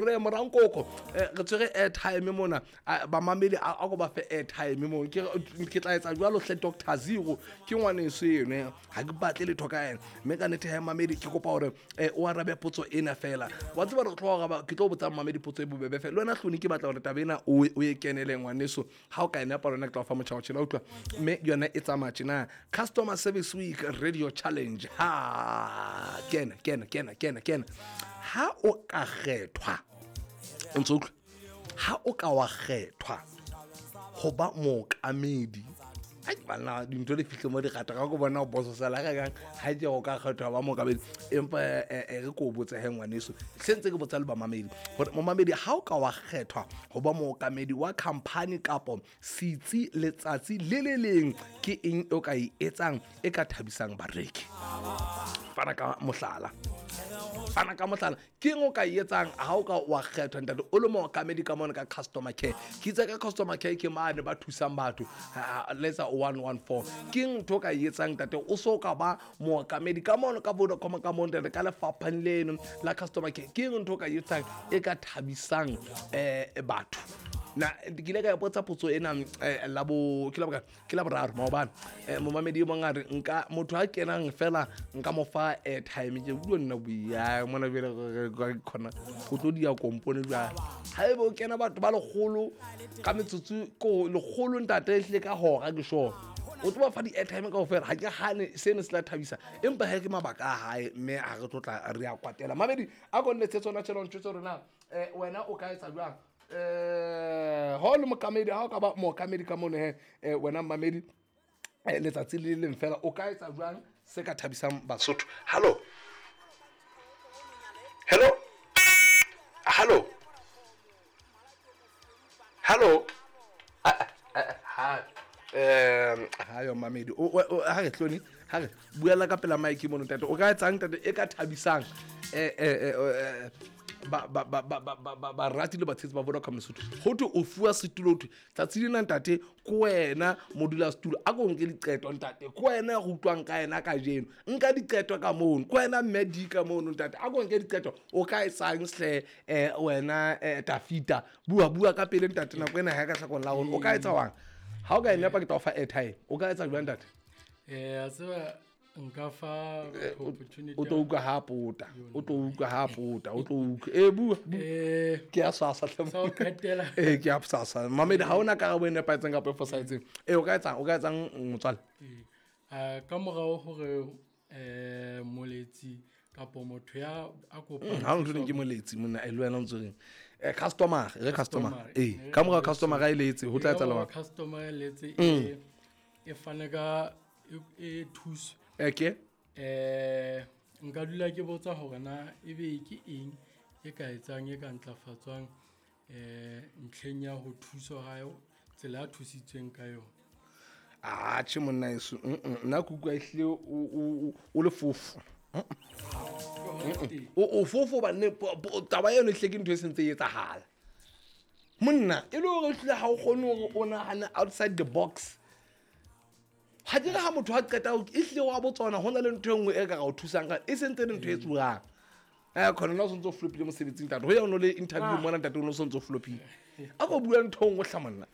Re morankoko re tshwere airtime mona bamamedi a ko ba fe airtime mo ke tla etsa jwalo hle Dr Zero ke ngwaneso eno ha ke batle letho ka ena mme ka nnete ha mamedi ke kopa hore o arabe potso ena fela wa tseba re tlo araba ke tlo botsa mamedi potso e bobebe fela le wena hloni ke batla hore taba ena o e kenele ngwaneso ha o ka e nepa lona ke tla o fa motjha wa tjhela utlwa mme yona e tsamaya tjena customer service week radio challenge ha kena kena kena kena kena ha o ka kgethwa o ntse utlwa ha o ka wa kgethwa ho ba mookamedi ai banna dintho di fihle mo di gata ka ko bona o bososela ga kang ha ke go ka kgethwa ba mookamedi empa re ko botse he ngwaneso se ntse ke botsa le bamamedi gore momamedi ha o ka wa kgethwa go ba mookamedi wa company kapo setsi letsatsi le le leng ke eng o ka e etsang e ka thabisang bareki fana ka mohlala fana ka mohlala ke eng o ka e etsang ha o ka wa kgethwa ntate o le mookamedi ka mona ka customer care ke itse ka customer care ke mane ba thusang batho letsa 114 ke eng ntho o ka e etsang ntate o so ka ba mookamedi ka mono ka Vodacom ka mono ntate ka lefapheng leno la customer care ke eng ntho o ka e etsang e ka thabisang batho na ke ile ka ipotsa potso ena labo ke la ke la boraro maobane momamedi e mong a re nka motho a kenang fela nka mo fa airtime ke bua nna boia mona bjale khona o tlo dia kompone jwale ha ebe o kena batho ba lekgolo ka metsotso ko lekgolo ntate e hlile ka hora ke sure o tlo ba fa di-airtime kao fela ga ke gane seno se tla thabisa empa he ke mabaka a gae mme ga re tlotla re a kwatela mamedi a ko nnetse tsona tšhelong tšwetse rona um wena o ka etsa jwang um ga o le mokamedi ga o ka ba mookamedi ka mono he wena mmamedi letsatsi le leng fela o ka etsa jwang se ka thabisang basotho hallo hello hallo hallo ha ha yo mamedi ha re tlone ha re buela ka pela mike mono ntate o ka etsang ntate e ka thabisang barati le batshetsi ba Vodacom Lesotho go thwe o fuwa setulo thwe tsatsi lena ntate ke wena modulasetulo a ko nke diqeto ntate ke wena go utlwang ka ena kajeno nka diqeto ka mono ke wena mme di ka mono ntate a ko nke diqeto o ka etsang hle wena Tafita bua bua ka pele ntate nako ena ha ka tlhakong la rona o ka etsa wang ha o ka e nepa ke tla o fa airtime o ka etsa jwang ntate a tseba nka fa opportunity o tlo utlwa ha pota o tlo utlwa ha pota o tlo utlwa e bua ke a swasa hle ke a swasa mamedi ha ona karabo e nepahetseng kapa e fosahetseng e o ka etsang o ka etsang motswale ka morao hore moletsi kapo motho ya a kopang ha o ntho ke moletsi monna e le wena o ntse reng customer re customer e ka morao customer ga e letse ho tla etsahala customer e letse e e fane ka e thuso okay nka dula ke botsa hore na ebe ke eng e ka etsang e ka ntlafatswang ntlheng ya ho thuso ha tsela a thusitsweng ka yona atjhe monna eso nna ke utlwa ehlile o le fofo o fofo banne taba eno ehlile ke ntho e sentse e etsahala monna e le hore ehlile ha o kgone hore o nahane outside the box ha ke re ha motho a qeta ehlile wa botswana ho na le ntho e nngwe e ka ga o thusang ka e sentse le ntho e tsuang khona nna o santse o flopile mosebetsing ntate ho ya o no le interview mona ntate o no santse o flopile a ko bua ntho e nngwe hla monna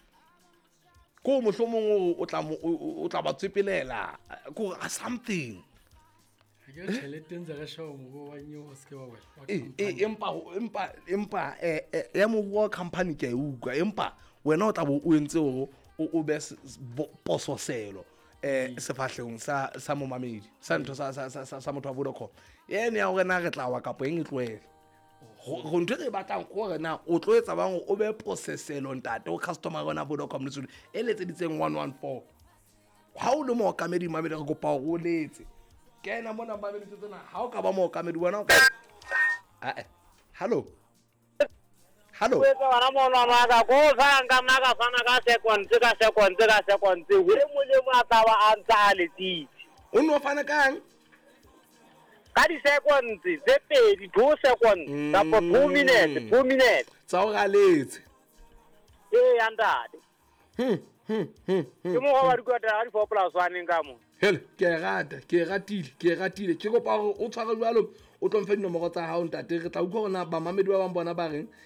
ko mohlomong o tla ba tsepelela ko something empa empa ya moruo wa company ke a e utlwa empa wena o tla bo o entse hore o be pososelo sefahlehong sa momamedi sa ntho sa motho wa Vodacom ene ya hore na re tla wa kapo eng e tlohele go ntho e re e batlang gore na o tlo etsa bang o be poseselo ntate o customer rona Vodacom Lesotho e letseditseng 114 ha o le mookamedi mamedi re kopa hore o letse kena mona mamedi tsena ha o ka ba mookamedi wena o ka hallo hallo bana mono maka ko fana ka fana ka seconds ka seconds ka seconds we molemo a tla ba a ntsa a letsitse o no fana kang ka di seconds tse pedi 2 seconds kapa 2 minutes 2 minutes tsa o galetse ee ntate ke mo go ba dikota ga di 4 plus 1 ka mo hele ke e rata ke e ratile ke e ratile ke kopa hore o tshware jwalo O tlo mfe dinomoro tsa hao, ntate. Re tla utlwa hore na bamamedi ba bang bona ba reng.